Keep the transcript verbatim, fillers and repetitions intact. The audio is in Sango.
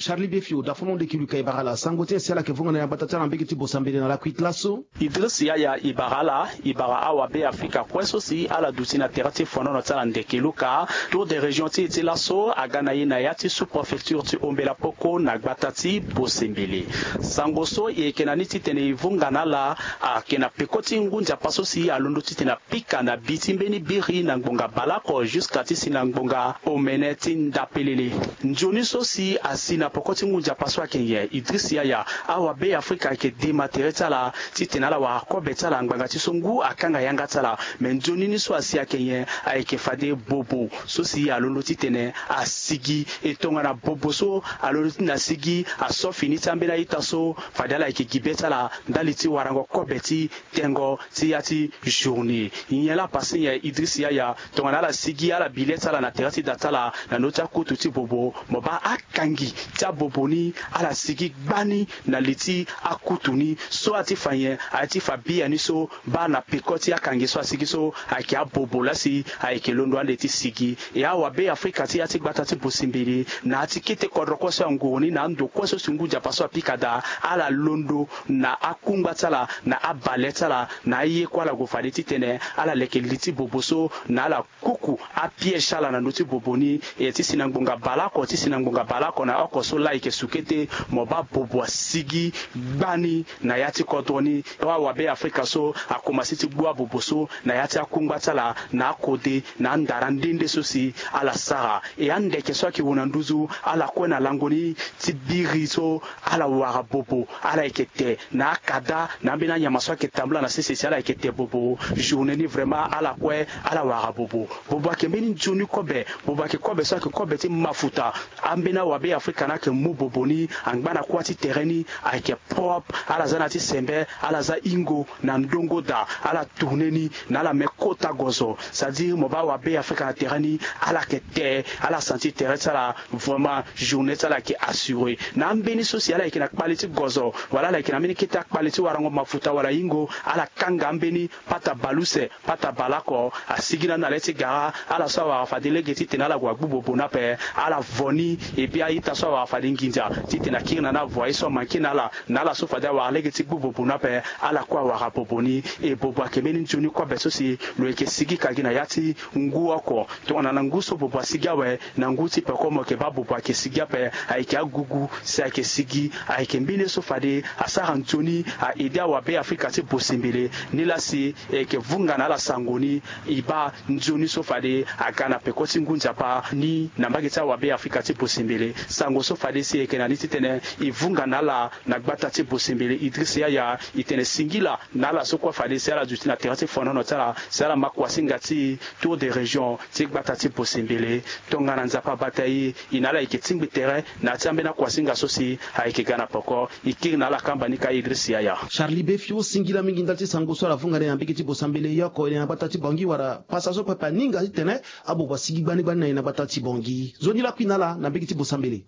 Charlie Befio, dafono nde kiluka e bara ala sango ti nyen si ala yeke vunga na ya gbata ti ala na mbege ti Bosambele na lakui ti laso? Idriss Yaya, e bara ala, e bara awabe Afrika kue so si ala duti na tere ti fonono ti ala ndeke luka. Tour de région ti e ti laso aga na e na ya ti sous-préfecture ti Ombela Poko na gbata ti Bosembele. Sango so e yeke na ni titene e vunga na ala ayeke na peko ti ngu nzapa so si alondo titene apika na bi ti mbeni biri na ngbonga baleoko jusqu'à ti si na ngbonga omene ti ndapelele. Nzoni so si asi na peko ti ngu nzapa so ayeke nyen? Idriss Yaya, awabe Afrika ayeke dema tere ti ala titene ala wara kobe ti ala ngbanga ti so ngu akanga yanga ti ala. Me nzoni ni so asi ayeke nyen? Ayeke fade bobo so si alondo titene asigi. E tongana bobo so alondo titene asigi, aso fini ti ambeni a-ita so fade ala yeke gi be ti ala ndali ti warango kobe ti tengo ti ya ti journée. Nyen laa pase nyen? Idriss Yaya, tongana ala sigi ala bi le ti ala na tere ti da ti ala na ndö ti akutu ti bobo, mo baa akangi ti abobo ni ala sigi gbani na li ti akutu ni. So aye ti fa nyen? Aye ti fa biani so baa na peko ti akangi so asigi so ayeke abobo laa si ayeke londo ande ti sigi. E awabe Afrika ti ya ti gbata ti Bosembele, na ya ti kete kodro kue so anguru ni na ando kue so si ngu nzapa so apika daa, ala londo na akungba ti ala, na abale ti ala, na aye kue ala gue fade titene ala leke li ti bobo so na ala kuku apiège ti ala na ndö ti bobo ni. E ti si na ngbonga baleoko, ti si na ngbonga baleoko na oko so laa e yeke su kete, mo baa bobo asigi gbani na ya ti kodro ni. Awabe Afrika so akomanse ti gbu abobo so na ya ti akungba ti ala, na akode, na andara nde nde so si ala sara. E andeke so ayeke wu na nduzu, ala kue na lango ni ti biri so ala wara bobo, ala yeke te na akada na ambeni anyama so ayeke tambula na sese si ala yeke te bobo. Journée ni vraiment ala kue ala wara bobo. Bobo ayeke mbeni nzoni kobe, bobo ayeke kobe so ayeke kobe ti mafuta. Ambeni awabe Afrika ni ayeke mu bobo ni angba na kuâ ti tere ni ayeke propre. Ala za na ya ti sembe, ala za hingo na ndongo daa, ala tourner ni na ala me kota gozo. C'est-à-dire mo baa awabe Afrika na tere ni, ala yeke te, ala sentir tere ti ala vraiment journée ti ala ayeke assuré. Na ambeni so si ala yeke na kpale ti gozo, wala ala yeke na mbeni kete akpale ti warango mafuta wala hingo, ala kanga ambeni pata baleuse, pata baleoko, asigi na ndo na le ti gara. Ala so awara fade lege titene ala gue agbu bobo ni ape, ala vo ni. Et puis a-ita so awara fade nginza titene akiri na ni avo aye so amanke na ala, na ala so fade awara lege ti gbu bobo ni ape, ala kue awara bobo ni. E bobo ayeke mbeni nzoni kobe so si lo yeke sigi ka gi na ya ti ngu oko. Tongana na ngu so bobo asigi awe, na ngu ti peko mo yeke baa bobo ayeke sigi ape. Ayeke agugu si ayeke sigi, ayeke mbeni ye so fade asara nzoni a-aider awabe Afrika ti Bosembele. Nilaa si e yeke vunga na ala sango ni, e baa nzoni so fade aga na peko ti ngu nzapa ni na mbage ti awabe Afrika ti Bosembele. Sango so fade si e yeke na ni titene e vunga na ala na gbata ti Bosembele, Idriss Yaya, e tene singila na ala so kue fade si ala duti na tere ti fonono ti ala, si ala ma kuasinga ti Tour de région ti gbata ti Bosembele. Tongana Nzapa abata e, e na ala e yeke tingbi tere na ya ti ambeni akuasinga so si ayeke ga na peko. E kiri na ala kamba ni ka Idriss Yaya. Charlie Befio, singila mingi ndali ti sango so ala vunga na e na mbege ti Bosambele. Yo oko e na gbata ti Bangui wala pasa so pepe aninga titene abobo asigi gbani gbani na e na gbata ti Bangui? Nzoni lakui na ala na mbege ti Bosambele.